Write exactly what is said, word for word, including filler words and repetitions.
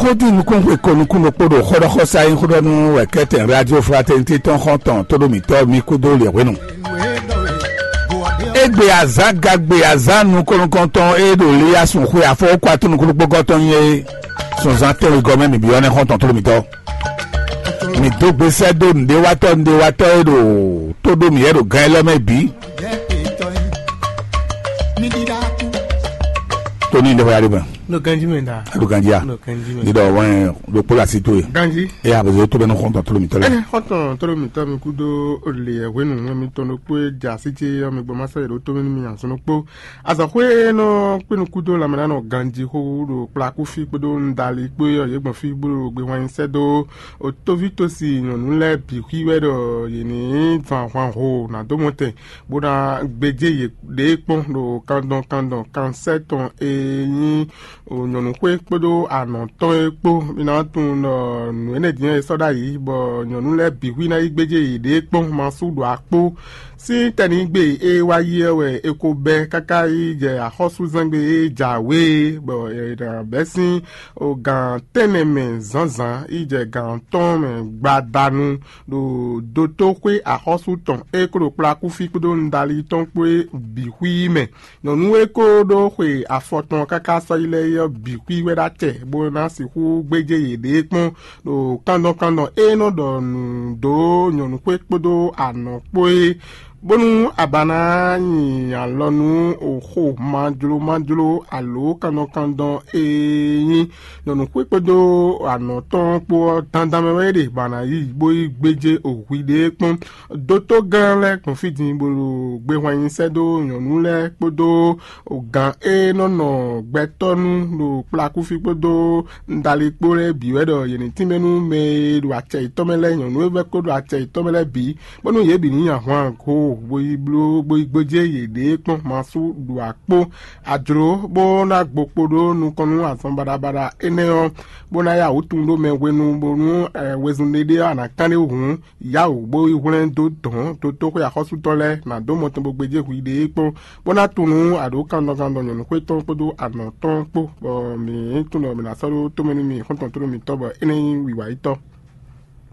Kódí nukúnxwe ko nukúnnú kpó ɖo xɔɖɔxɔsá e nyí xóɖɔnú wɛ kɛ́tɛn Radio Fraternité tɔn xɔ́ntɔn tóɖómítɔ́ mi kúdó lě hwenu. Égbé azǎn gagbe azǎn nukɔn nukɔntɔn e ɖo Liyasun xwe afɔwɔ́kú atún nukúnnú kpó gɔ́tɔn nyí é, sunzán tɛ́nwe gɔmɛ mǐ byɔ́ nɛ́ xɔ́ntɔn tóɖómítɔ́. Mǐ dó gbe sɛ́ dó nǔɖéwatɔ́ nǔɖéwatɔ́ e ɖo tó ɖó mǐ wɛ ɖo gán élɔ́ mɛ bǐ. Tóní ɖé xɔyá ɖé mɛ. Ɖo ganjí mɛ da. Ɖo ganjí a? Ɖo ganjí mɛ. Ní ɖɔ wɛn ɖokpó le asi towe. Ganjí. Eye abɔzɔ tó bɛ nɔ xɔntɔn tó lo mítɔ lɛ. Ɛɛ, xɔntɔn tó lo mítɔ mi kúdó olè hwenu ŋlɔ mitɔn ɖokpó e dza sí ce ɔ́ mi gbɔ ma sɛ ɖo tó mi nú mi azɔn ɖokpó. Azɔxwé nɔ kpénu kúdó lanmɛnánɔ ganjí xó ɖo kplakúfí kpódó ndali kpó ɔ́ yě gbɔn fí bó ɖo gbe hwan nyi sɛ́ dó otóví tosi nyɔ̌nu lɛ́ɛ bǐ xwí wɛ ɖɔ yě ní zan ahwan ho nǎ dó mɔtɛn bó ná gbéjé yě ɖě kpɔ́n ɖo kandɔn kandɔn kansɛ́ tɔn e nyí nyɔ̌nuxwé kpódó anɔ̌ tɔn é kpó. Mi ná tunwun ɖɔ nǔ énɛ́ din ɔ́, è sɔ́ ɖ'ayǐ bɔ nyɔ̌nu lɛ́ɛ bǐ xwí ná yi gbéjé yěɖée kpɔ́n masú ɖo akpó. Sín tɛ́nǐgbe e wá yi ɔ́ wɛ è ko bɛ́ káká yi jɛ axɔ́súzɛ́ngbe e jǎwe é, bɔ è nǎ bɛ́ sín gǎn tɛ́nnɛ mɛ zǎnzǎn yi jɛ gǎn tɔn mɛ gbadanu ɖo dotóxwé axɔ́sú tɔn e ko ɖo kplakúfí kpódó nudali tɔn kpó é bǐ xwí mɛ. Nyɔ̌nu e ko ɖó xwe afɔ tɔn káká sɔ́ yi lɛ́ɛ é ɔ́ bǐ xwí wɛ ɖó acɛ bó ná sixú gbéjé yěɖée kpɔ́n ɖo kandɔn kandɔn e nɔ ɖɔ nǔ dó nyɔ̌nuxwé kpódó anɔ̌ kpó é, bónú a ba ná nyi alɔ nú oxo majló majló alo kandɔn kandɔn e nyí nyɔ̌nuxwé kpódó anɔ̌ tɔn kpó ɔ́ dandan mɛ wɛ é ɖe ba ná yi bó yi gbéjé ohwi ɖé kpɔ́n. Dotó gán lɛ́ɛ gbɔn fí din bó ɖo gbehwan nyi sɛ́ dó nyɔ̌nu lɛ́ɛ kpódó gǎn e nɔ nɔ gbɛtɔ́ nu ɖo kplakúfí kpódó ndali kpó lɛ́ɛ bǐ wɛ ɖɔ yě ní tínmɛ nú mɛ e ɖo acɛ yětɔn mɛ lɛ́ɛ, nyɔ̌nu e vɛ́ kó ɖo acɛ yětɔn mɛ lɛ́ɛ bǐ, bónú yě bǐ ní nyi ahwan go bó yi bló bó yi gbéjé yěɖée kpɔ́n masú ɖo akpó ajlǒ, bó ná gbo kpo ɖó nukɔn nú azɔn baɖabaɖa énɛ́ ɔ́, bó ná yá wǔ tunwun ɖó mɛ hwenu bónú wezun ɖé ɖé ɔ́, a nǎ kán ɖé hǔn yá wǔ bó yi hwlɛ́n dó dɔ̌n dotóxwé axɔ́sútɔ́ lɛ́ɛ ná dó mɔ tɔn bó gbéjé hwi ɖě kpɔ́n, bó ná tunwun nú aɖǒ kandɔkandɔ nyɔ̌nuxwé tɔn kpódó anɔ̌ tɔn kpó, bɔ mǐ tunwun ɖɔ mǐ ná sɔ́ ɖó tómɛ nú mi xɔ́ntɔn tónú mitɔ́ bɔ é ná nyí wiwa yítɔ́.